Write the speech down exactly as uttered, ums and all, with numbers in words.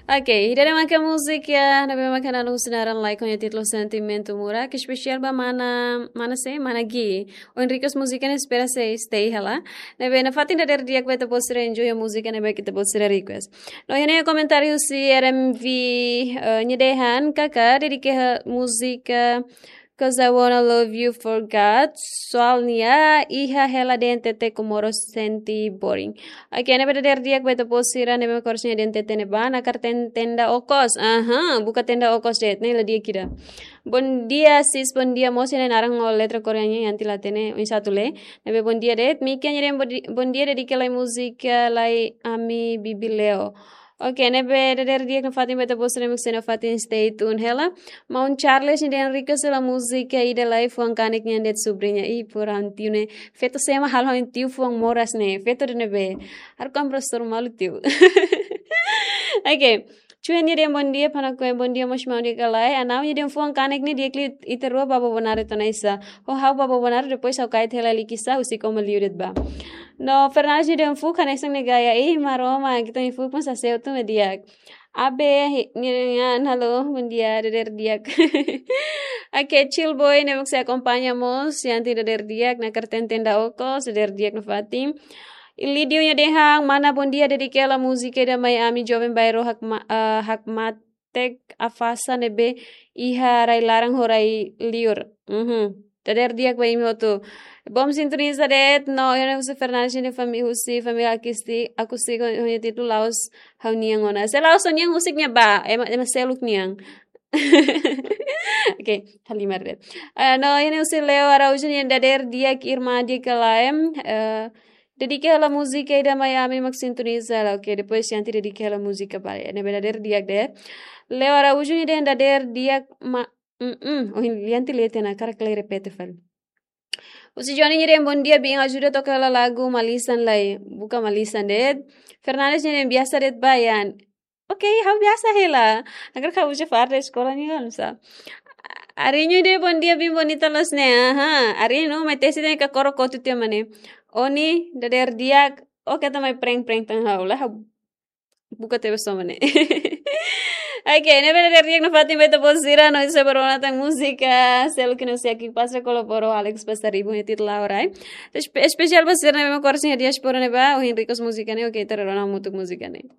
Oke, ida-ne'e maka múzika ne'ebé maka naran husi naran lae ho nia títulu Sentimentu Murak, ke espesiál ba mana, mana sé, mana Gi. Ohin request múzika ne'e, espera sei stay hela. Ne'ebé nafatin dadeer di'ak ba ita-boot sira enjoy ho múzika ne'ebé ita-boot sira request. No iha ne'e komentáriu husi R M V, eh, nia dehan, karik dedika múzika Cause I wanna love you for God. Soalnya iha hela D N T T Comoro sente boring. Oke, ne'ebé dadeer di'ak ba ita-boot sira ne'ebé kores nia D N T T ne'ebá, nakar ten-, tenda okos. Aha, buka tenda okos de'it, ne'e la di'ak ida. Bom dia, sis, bom dia, mós iha ne'e naran ho letra Koreanya yang tila tene, oinsá atu lee. Ne'ebé bom dia de'it, Mika nia dehan bom di-, bom dia, dedika lai múzika lai ami bibi Leo. Oke, ne'ebé dadeer di'ak nafatin ba ita-boot sira mak sei nafatin stay tune hela. Maun Charles nia dehan request hela múzika ida lai fuan kanek nian de'it, subriña. Ih, pura tiu ne'e. Feto sé mak halo tiu fuan moras ne'e. Feto ida-ne'ebé. Harus kan profesór malu tiu. Oke. Chue nia dehan bom dia, Panakue bom dia, mós maun di'ak ka lae. Anau nia dehan fuan kanek ne'e di'ak liu ita rua ba Bobonaro to'o Naisa. Ho ha'u ba Bobonaro, depois ha'u kait hela Likisá, husik ó mak liu de'it ba. No Fernandes nia dehan fuuk hanesan ne'e gaya, ih, Maromak, ita-nia fuuk mós hase'u tun mak di'ak. Abe, hi-, nia dehan, halo, bom dia, dadeer di'ak. Oke, Chill Boy, ne'ebé sei akompaña mós, Yanti dadeer di'ak, nakar ten tenda okos, dadeer di'ak nafatin. Ilidio nia dehan, mana bom dia, dedika hela múzika ida mai ami joven bairru hakma-, eh, hakmatek afasa ne'ebé iha rai laran ho rai liur. Mhm. Dadeer di'ak ba imi hotu. Bom sintoniza de'it, no iha ne'e husi Fernandes nia fami-, husi família Akisti, Akusti ho nia títulu La'ós Ha'u-Nian Ona. Se la'ós ha'u-nian husik ne'ebá, ema, ema seluk nian. Oke, halimar de'it. Eh, no iha ne'e husi Leo Araújo nia dehan dadeer di'ak, irmã di'ak ka lae. Eh, dedika hela múzika ida mai ami mak sintoniza hela. Oke, depois Yanti dedika hela múzika ba nia, ne'ebé dadeer di'ak de'it. Leo Araújo nia dehan dadeer di'ak ma-, mm, mm. Ohin Yanti lee tiha ona, karik lee repete fali. Husi Johnny nia dehan bom dia, biin ajuda toka hela lagu Malisan lai. Buka Malisan de'it. Fernandes nia dehan biasa de'it ba Yan. Oke, ha'u biasa hela. Nakar ka uja farda eskola nian kan sa. Arinho dehan bom dia, biin bonita loos ne'e. Aha, Arinho, mai tesi dehan ka koro kotu tiha mak ne'e. Oni, dadeer di'ak, oke, ita mai prank-prank tan ha'u la, ha'u buka tebe soma ne'e. Oke, ne'ebé dadeer di'ak nafatin ba ita-boot sira, no ita sei bá rona tan múzika, selu ki no sei aki pasa kolabora Alex Pasaribu nia títulu Laorai. Espe-, espesiál ba sira ne'ebé mak kores iha diáspora ne'ebá, ohin request múzika ne'e, oke, ita rona hamutuk múzika ne'e.